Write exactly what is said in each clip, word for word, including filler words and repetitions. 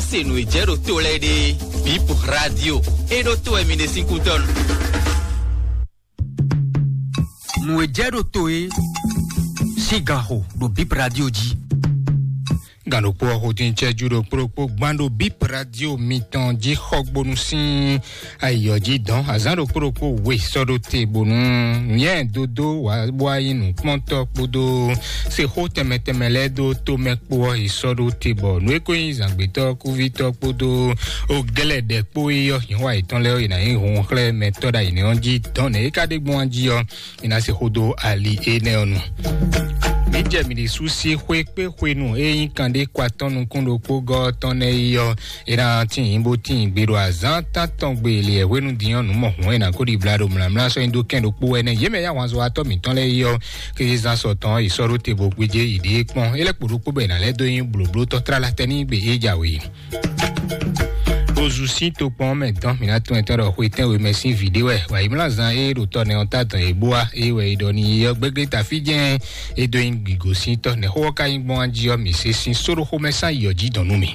Se nǔ e jɛ ɖo to lɛ́ɛ ɖe, Bip Radio, e ɖo to wɛ mi ɖe sín kútɔ́nu. Nǔ e jɛ ɖo to e sín gan xo ɖo Bip Radio jí. Gǎn ɖokpó ɔ́ xo dín cɛ́jú ɖokpó ɖokpó gbán ɖo Bip Radio mitɔn jí xɔgbónu sín ayǐ ɔ́ jí dɔn. Azǎn ɖokpó ɖokpó we sɔ́ ɖó te bónú nyɛ dodó wá bó wá nyí nǔkpɔ́ntɔ́ kpódó se xó tɛnmɛ tɛnmɛ lɛ́ɛ dó tó mɛ kpó ɔ́, è sɔ́ ɖó te bɔ nǔ e ko nyí zǎngbétɔ́ kúvítɔ́ kpódó ó gɛ́lɛ ɖɛ kpó é ɔ́, nyɛ wá yětɔn lɛ́ɛ ɔ́, è nǎ nyí hun xlɛ́ mɛ tɔ́ ɖo ayǐ nɛ́ ɔ́ jí dɔn nɛ̌ é ka ɖe gbɔn jí ɔ́, è nǎ se xó dó ali énɛ́ ɔ́ nu. Mǐ jɛ mǐ ɖésú sí xwé kpé xwenu e nyí kanɖé kɔ atɔ́ nukún ɖokpó gɔ́ ɔ́ tɔn nɛ́ yi ɔ́, è nǎ tín bó tín gbe ɖo azǎn tántɔn gbe lě hwenu din ɔ́ nǔ mɔ hǔn è nǎ ko ɖi bla ɖo mlǎmlá sɔ́ nyi dó kɛn ɖokpó wɛ nɛ́. Yě mɛ yá wǎnzɔ́watɔ́ mǐtɔn lɛ́ɛ yi ɔ́, kézezán sɔtɔn yi sɔ́ ɖó te bó gbéjé yi ɖě kpɔ́n. É lɛ́ kpo ɖokpó bɔ è nǎ lɛ́ dó nyí blǒblótɔ́ tlala tɛ́ n'i gbe é jǎwe. Ozu sín tokpɔn mɛ dɔn mǐ ná tún ɛtɔn ɖɔ xwe tɛ́nwe mɛ sín vǐ ɖé wɛ wǎyímlázan e ɖo tɔ nɛ ɔ́ ta dɔn yě bó wá é wɛ é ɖɔ n'i yɔ gbégbé tafí jɛ́n é dó nyí gǐgó sín tɔ́ nɛ̌ xó ɔ́ ka nyí gbɔn jí ɔ́, mǐ se sín sóɖó xomɛ sán yi ɔ́ jí dɔn nú mì.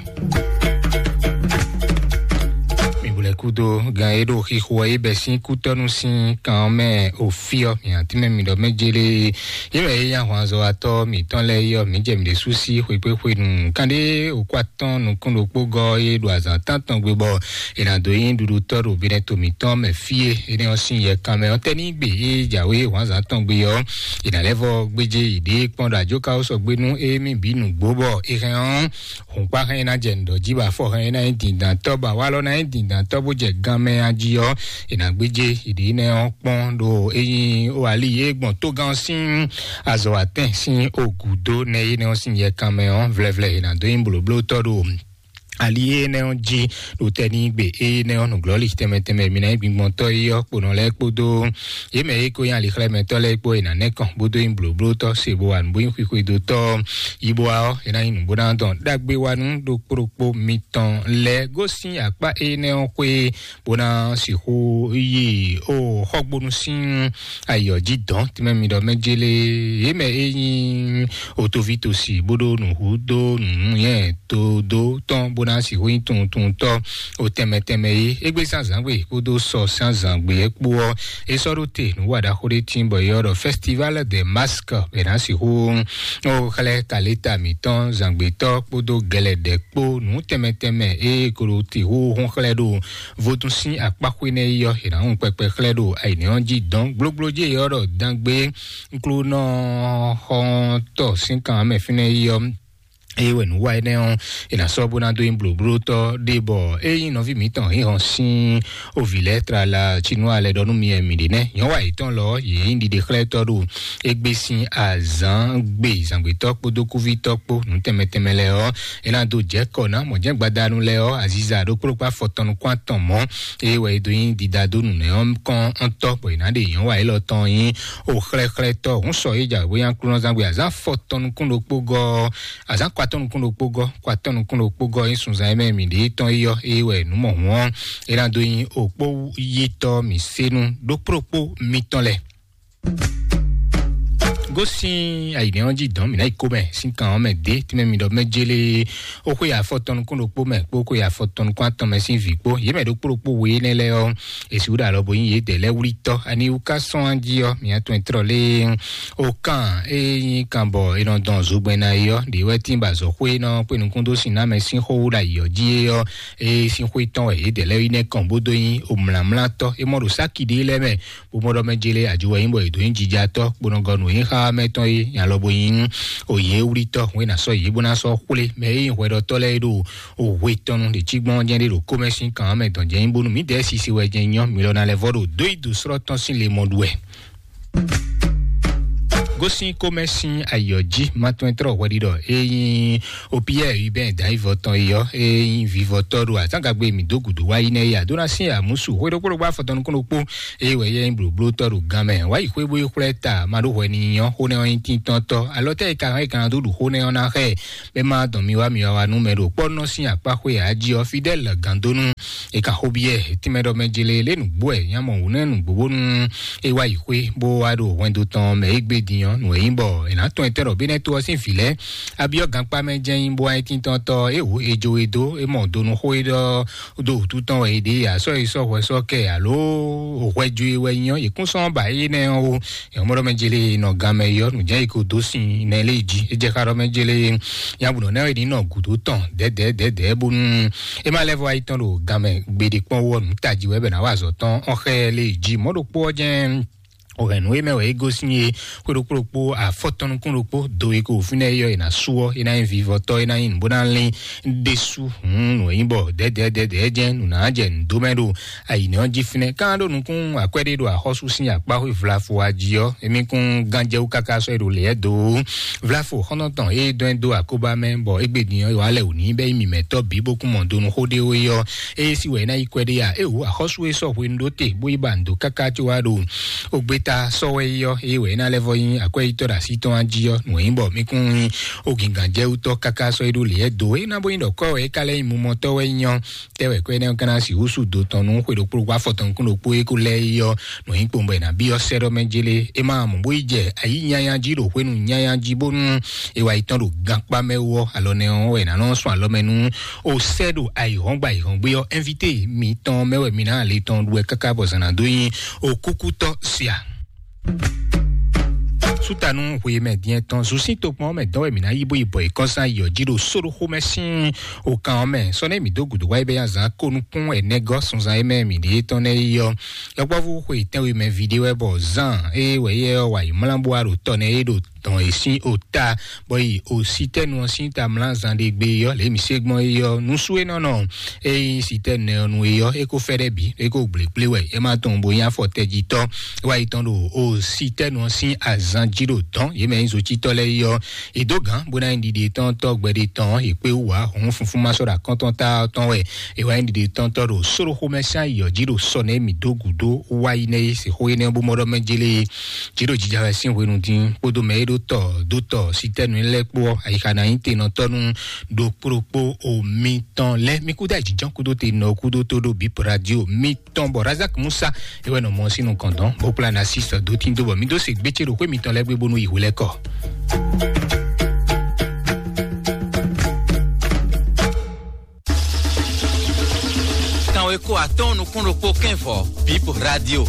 Mi bu lɛ kúdo gan e ɖo xixo ɔ́, é bɛ sín kútɔ́nú sín kan ɔ́ mɛ òfí ɔ́, mǐ atínmɛ mi ɖɔ mɛ jélé. Yě mɛ é nyí ahwanzɔ́watɔ́ mǐtɔn lɛ́ɛ é ɔ́, mǐ jɛ mǐ ɖésú sí xwekpéxwenu. Kanɖé òkú atɔ́ɔ́n nukún ɖokpó gɔ́ é ɖo azǎn tántɔn gbe bɔ è nǎ dó nyí ɖuɖutɔ́ ɖo binɛto mǐtɔn mɛ fí e énɛ́ ɔ́ sín yɛ kanmɛ ɔ́ tɛ́ ní gbe é jǎwe wǎnzǎn tɔn gbe ɔ́, è nǎ lɛ́ vɔ gbéjé yi ɖě kpɔ́n ɖo ajó ka ó sɔgbe nú émí bǐ nǔgbó bɔ è hɛn ɔ́, hǔnkpá hɛn ná jɛ nǔɖɔ jí bɔ afɔ hɛn ná nyí dǐndǎntɔ́ bɔ awalɔ ná nyí dǐndǎntɔ́ bó jɛ ganmɛ a jí ɔ́, è nǎ gbéjé yi ɖě nɛ́ ɔ́ kpɔ́n ɖo é nyí ó ali e gbɔn tógán ɔ́ sín azɔ̌ atɛn sín ogǔdó nɛ énɛ́ ɔ́ sín yɛ kanmɛ ɔ́, vlɛvlɛ è nǎ dó nyí blǒblótɔ́ ɖo ali énɛ́ ɔ́ jí ɖo tɛ́ ní gbe énɛ́ ɔ́ nǔglɔ́li tɛnmɛ tɛnmɛ mi ná nyí gbingbɔntɔ́ é ɔ́ kponɔ lɛ́ɛ kpódó yě mɛ e ko nyí alixlɛ́mɛtɔ́ lɛ́ɛ kpó è nǎ nɛ́ kɔn bó dó nyí blǒblótɔ́ se bó wa nǔ bó nyí xwixwedótɔ́ yi bó wa ɔ́, è ná nyí nǔ bó ná dɔn ɖagbe wa nú ɖokpó ɖokpó mitɔn lɛ́ɛ gosín akpá énɛ́ ɔ́ xwé bó ná sixú yi ó xɔgbónú sín ayǐ ɔ́ jí dɔn tɛnmɛ mi ɖɔ mɛ jélé yě mɛ e nyí otoví tosi bó ɖó nǔ hú dó nǔ nyɛ tó dó tɔn bó ná sixú nyí tuntuntɔ́ o tɛnmɛ tɛnmɛ é. Égbé sín azǎngbe kpódó sɔ sín azǎngbe é kpó ɔ́, é sɔ́ ɖó te nǔ wa ɖaxó ɖé tín bɔ é ɔ́ ɖɔ Festival des Masques bɛ ná sixú ó xlɛ́ kaléta mǐtɔn zǎngbetɔ́ kpódó gɛlɛdɛ̌ kpó nǔ tɛnmɛ tɛnmɛ é ko ɖo te hú hún xlɛ́ ɖo vodún sín akpáxwé nɛ́ yi ɔ́, è nǎ hun kpɛkpɛ xlɛ́ ɖo ayǐnɛ́ ɔ́ jí dɔn gblogblo jí é ɔ́ ɖɔ dán gbé nklónɔ xɔ́ntɔ́ sín kan mɛ fínɛ́ yi ɔ́. Eye wɛ nǔ wa énɛ́ ɔ́, è nǎ sɔ́ bó ná dó nyí blǒblótɔ́ ɖé bɔ é nyí nɔví mǐtɔn hǐnhɔn sín ovǐ lɛ́ɛ tlala cínú alɛ ɖɔ nú mi wɛ mǐ ɖe nɛ́. Nyɔ̌wa yětɔn lɔ yě nyí ɖiɖexlɛ́tɔ́ ɖo égbé sín azǎn gbe zǎngbetɔ́ kpódó kúvítɔ́ kpó nǔ tɛnmɛ tɛnmɛ lɛ́ɛ ɔ́, é ná dó jɛ kɔ ná mɔ̌ jɛ́n gbadanu lɛ́ɛ ɔ́, aziza ɖokpó ɖokpó afɔtɔn nukún atɔn mɔ̌. Eye wɛ é dó nyí didadó nǔnɛ́ ɔ́ kɔn ɔ́ tɔ́ bɔ è nǎ ɖe nyɔ̌wa élɔ́ tɔn nyí o xlɛ́xlɛ́tɔ́ hǔn sɔ é jǎwe bó nyí aklúnɔzán gbe azǎn afɔtɔn nukún ɖokpó gɔ́ ɔ́, azǎn kɔ atɔ́ nukún ɖokpó gɔ́, kɔ atɔ́ nukún ɖokpó gɔ́ nyí sunzán e mɛ mǐ ɖe tɔn yi ɔ́, é wɛ nǔ mɔ hǔn ɔ́, é ná dó nyí òkpó yítɔ́ mǐ sénu ɖokpó ɖokpó mitɔn lɛ́ɛ. Gosín ayǐnɛ́ ɔ́ jí dɔn mǐ ná yi kó mɛ sín kan ɔ́ mɛ dě tínmɛ mi ɖɔ mɛ jélé ó xwé afɔtɔn nukún ɖokpó mɛ kpó xwé afɔtɔn nukún atɔn mɛ sín vǐ kpó. Yě mɛ ɖokpó ɖokpó we énɛ́ lɛ́ɛ ɔ́, è sixú ɖo alɔ bo nyí yědɛɛ lɛ́ɛ wlítɔ́. Ani wú ká sɔ́n á jí ɔ́, mǐ atɔn e tlɔ lé ó kán é nyí kan bɔ è nɔ dɔn zogbɛ́n ná é ɔ́, ɖě wɛ tín ba azɔ̌ xwé nɔ kpé nukún dó sin ná mɛ sín xó wú ɖo ayǐ ɔ́ jí é ɔ́, é sín xwé tɔn wɛ yědɛɛ lɛ́ɛ yi nɛ́ kɔn bó dó nyí omlǎmlátɔ́. É mɔ ɖo sáki ɖé lɛ́ɛ mɛ bó mɔ ɖɔ mɛ jélé ajo wɛ nyí bɔ è dǒ nyí jija tɔ́ kponɔgɔnu e nyí xá mɛ tɔn é nya lɔ bo nyí òye wlítɔ́ hwɛ ná sɔ́ yě bó ná sɔ́ xwlé mɛ e nyí hwɛɖɔtɔ́ lɛ́ɛ é ɖo òhwe tɔn nu ɖě cí gbɔn jɛ́n ɖé ɖo kómɛ sín kan mɛ dɔn jɛ́n nyí bónú mǐdɛɛ sisi wɛ jɛ́n nyɔ́ mi lɔ ná lɛ́ vɔ ɖo dó yi dǒ slɔ́ tɔn sín le mɔ ɖu wɛ. Gosín kómɛ sín ayǐ ɔ́ jí matɔ́ntɔ́ hwɛɖiɖɔ e nyí opiyɛ yibɛn dǎyivɔ tɔn yi ɔ́, e nyí vivɔtɔ́ ɖo azǎngagbe mǐ dó gǔdo wá yi nɛ́ ya dó ná sín amǔsu hwe ɖokpó ɖokpó afɔtɔn nukún ɖokpó. Eye wɛ yɛ nyí blǒblótɔ́ ɖo gan mɛ wá yi xwé bó yi xwlɛ́ ta ma ɖó hwɛ n'i nyɔ́ xó nɛ́ ɔ́ nyí tíntɔ́ntɔ́ alɔ tɛ́ e ka hɛn e ka ná dó ɖu xó nɛ́ ɔ́ ná xɛ bɛ́ má dɔn mi wá mi wá wá nú mɛ ɖo kpɔ́nɔ sín akpá xwé ǎ jí ɔ́ fidɛ́l gǎndónú. E ka xo biɛ tínmɛ ɖɔ mɛ jele lé nǔgbó ɛ nyamɔ wǔ nɛ nǔgbó bónú e wá yi xwé bó wá ɖo hwɛndo tɔn mɛ é gbé din ɔ́, nǔ e nyí bɔ è nǎ tɔn etɛ́ ɖɔ bí nɛ́ tó ɔ́ sín vǐ lɛ́ɛ abyɔ́ gankpá mɛ jɛ́n nyí bó wá nyí tíntɔ́ntɔ́ é wǔ e jo e dó é mɔ donu xó é ɖɔ dó wǔtu tɔn wɛ è ɖe asɔ́ e sɔ́ hwɛ sɔ́ kɛ alo hwɛ ju e wɛ nyí ɔ́, yě kún sɔ́ ba énɛ́ ɔ́ ó. Nyɔ̌mɔ́ ɖɔ mɛ jele nɔ gan mɛ yɔ nǔjɛ yi ko dó sin nɛ lé jí. É jɛ xá ɖɔ mɛ jele nyabunɔ nɛ ní nɔ gǔdo tɔn dɛdɛdɛdɛ bónú é má lɛ́ vɔ ayi tɔn ɖo gan mɛ gbeɖé kpɔ́n wɔ nǔ tají wɛ bɛ ná wa azɔ̌ tɔn ɔ́ xɛ lé jí. Mɔ̌ ɖokpó ɔ́ jɛ́n o hɛn nǔ e mɛ wɛ é gosín e xwé ɖokpó ɖokpó afɔtɔn nukún ɖokpó do e ko fínɛ́ é yɔ è nǎ sú ɔ́, é ná nyí vivɔtɔ́, é ná nyí nǔ bó ná lín ɖésú. Hǔn nǔ e nyí bɔ dɛdɛdɛdɛ jɛ́n nǔ ná jɛ nǔ dó mɛ ɖo ayǐnɛ ɔ́ jí fínɛ́. Kán ɖó nukún akwɛ́ ɖé ɖo axɔ́sú sín akpá xwé vlafo a jí ɔ́, émí kún gánjɛwú káká sɔ́ é ɖo lě ɛ dó. Vlafo xɔ́ntɔn tɔn e dɔn ɛ dó akóbá mɛ bɔ égbé din ɔ́, yɔ alɛ wǔ ní bɛ nyí mǐmɛtɔ́ bǐ bó kún mɔ donu xó ɖé ó é ɔ́, eye sí wɛ é ná yi kwɛ ɖé a? É wǔ axɔ́sú e sɔ́ hwenu ɖó te bó yi ba nǔ dó káká có wá ɖo ogbeta sɔ́ wɛ é ɔ́, eye wɛ é ná lɛ́ vɔ nyí akwɛ́yítɔ́ ɖo así tɔn a jí ɔ́, nǔ e nyí bɔ mí kún nyí ogǐngǎnjɛwútɔ́ káká sɔ́ é ɖó lě ɛ dó. É ná bó nyí ɖɔ kɔ́ wɛ é ka lɛ́ nyí mumɔtɔ́ wɛ é nyí ɔ́, tɛ́ wɛ kɔ énɛ́ ɔ́ ka ná sixú sú do tɔn nú xwe ɖokpó ɖokpó afɔtɔn nukún ɖokpó e ko lɛ́ é ɔ́, nǔ nyí kpowun bɔ è nǎ byɔ́ sɛ́ ɖɔ mɛ jélé. É ma mɔ bó yi jɛ ayǐ nyanya jí ɖo hwenu nyanya jí bónú è wá yi tɔn ɖo gankpá mɛ wú ɔ́, alɔ nɛ ɔ́ wɛ è nǎ nɔ sɔn alɔ mɛ nú o sɛ́ ɖo ayǐhɔ́ngbe ayǐhɔ́ngbe ɔ́. Invité mitɔn mɛ wɛ mi ná le tɔn ɖu wɛ káká bɔ zǎn ná dó nyi o kúkútɔ́ sia. Sútanu hwe mɛ diɛ tɔn zun sín tokpɔn mɛ dɔn wɛ mǐ ná yí bó yi bɔ yi kɔnsán yi ɔ́ jí ɖo sóɖó xomɛ sín o kan ɔ́ mɛ. Sɔ́ nɛ mǐ dó gǔdo wá yi bɛ nyi azǎn ko nukún ɛnɛgɔ́ sunzan e mɛ mǐ ɖe tɔn nɛ́ yi ɔ́. Yɔkpɔ́vú xwe tɛ́nwe mɛ ví ɖé wɛ bɔ zan e wɛ yɛ ɔ́ wa yi mlá bó wá ɖo tɔ nɛ e ɖo tɔn e sín o ta bɔ yi o sitɛnu ɔ́ sín ta mlá zan ɖé gbé ɔ́ lě mǐ se gbɔn é ɔ́. Nusú e nɔ nɔ e nyí sitɛnu nɛ ɔ́ nu é ɔ́, é ko fɛ́ ɖɛ bǐ, é ko gblěgblé wɛ, é ma tɔn bo nyí afɔ tɛjitɔ́. É wá yi tɔn ɖo o sitɛnu ɔ́ sín azan jí ɖo dɔn yě mɛ nyí zocítɔ́ lɛ́ɛ é ɔ́, è dó gǎn bó ná nyí ɖiɖe tɔn tɔ́ gbɛɖe tɔn è kpé wú ǎ. Hɔn funfun ma sɔ́ ɖo akɔ́ntɔn ta ɔ́ tɔn wɛ è wá nyí ɖiɖe tɔn tɔ́ ɖo sóɖoxomɛ sín ayǐ ɔ́ jí ɖo sɔ nɛ́ mǐ dó gǔdo wá yi nɛ́ é se xó énɛ́ bó mɔ ɖɔ mɛ jélé. Jí ɖo jija wɛ sín hwenu dín kpódó mɛ e ɖó tɔ dó tɔ sitɛnu lɛ́ɛ kpó ɔ́, ayixa ná nyí tenɔtɔ́ nú ɖokpó ɖokpó omi tɔn lɛ́ɛ. Mi kúdó ayǐjínjɔ́n kúdó te nɔ kúdó tó ɖó bip radio mi tɔn bɔ Razak Musa é wɛ nɔ mɔ sínú kɔndɔn bó kplá na sí sɔ dó tín dó bɔ mi dó se gbétsé ɖo xwé mitɔn lɛ́ɛ gbé bónú yi hwelɛ́kɔ. Kanwe ko atɔn nukún ɖokpó kɛn vɔ bip radio.